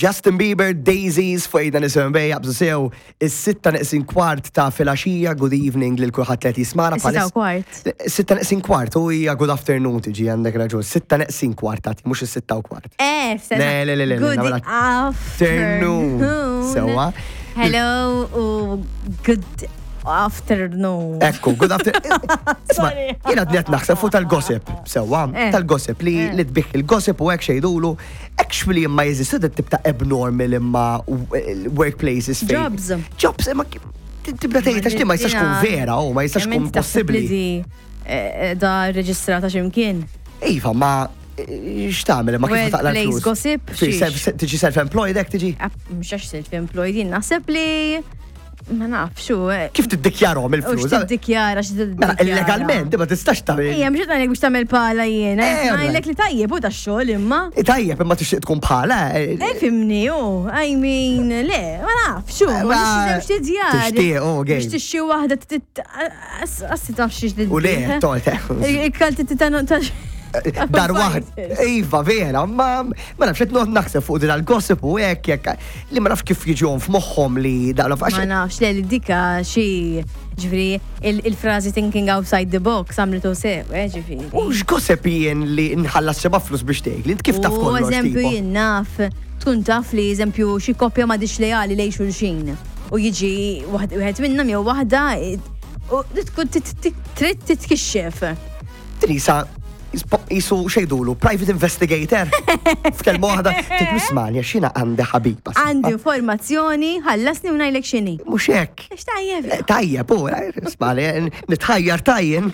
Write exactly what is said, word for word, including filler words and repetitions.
Justin Bieber, Daisies, fuq Ejda Nisimgħu jaqbżu sew, is-sitta neqsin kwart ta' filgħaxija, good evening lil kulħadd li qed jismagħna. Sitta u kwart. Sitta neqsin kwart, u hija good afternoon tiġi, għandek raġun, sitta neqsin kwart tati, mhux is-sitta u kwart. Eh, Le, le, le, le, Good nagħmilha afternoon. Sewwa. Hello u good afternoon. Ekku, good afternoon. Isma, Sorry. jiena qed naħseb fuq tal-gossip, sewwa, Eh. tal-gossip li Eh. li tbigħ il-gossip u hekk xejdulu, actually imma jeżistu dat tip ta' abnormal imma workplaces fejn. Jobs. Jobs, imma ki- tibda tgħid għax li ma jistax kun vera u ma jistax kun possibbli. Li eh, da reġistrata x'imkien. Iva, ma eh, x'tagħmel imma kif taqla Workplace l-flus? gossip, Fi- xiex? self- Tiġi self-employed hekk tiġi? Mhux għax self-employed, jien naħseb li ma nafx xu. eh, Kif tiddikjarhom U il-flus? x'tiddikjara, Mela, x'tiddikjara. illegalment, ma tistax tagħmel. Ejja, mhux qed ngħidlek biex tagħmel pala jiena. Eh, Ngħidlek li tajjeb u tax-xogħol imma. Eh, Tajjeb, imma tixtieq tkun bħala. eh, Eh, fhimni, u, I mean, le, ma nafx, xu, ma Ma- nix tidjar. Tixtieq, oh, Biex game. tixxi waħda, assi taf xiex U le, tolt. Il-kalti titanu ta' Dar waħd. Iva, vera, ma ma nafx qed noqgħod naħseb fuq din għal-gossip u hekk jekk li ma nafx kif jiġihom f'moħħhom li da Ma nafx, le, li dika xi, ġifieri, il-frażi "thinking outside the box" għamlitu sew, eh, ġifieri. U x'gossip jien li nħallas xeba flus biex tgħid li int kif taf U kollox? eżempju Tipo? jien naf, tkun taf li eżempju xi koppja ma diċ lejali lej xulxin. U jiġi waħd- wieħed minnhom jew waħda u tkun tit- tit- trid titkixxef. Trisa jisu xejdulu, private investigator. F'kelma waħda, titmismani għax jiena għandi ħabiba. Għandi informazzjoni, ħallasni u ngħidlek x'inhi. Mhux hekk. Għax tajjeb. Eh, Tajjeb, u, ismani, nitħajjar tajjen.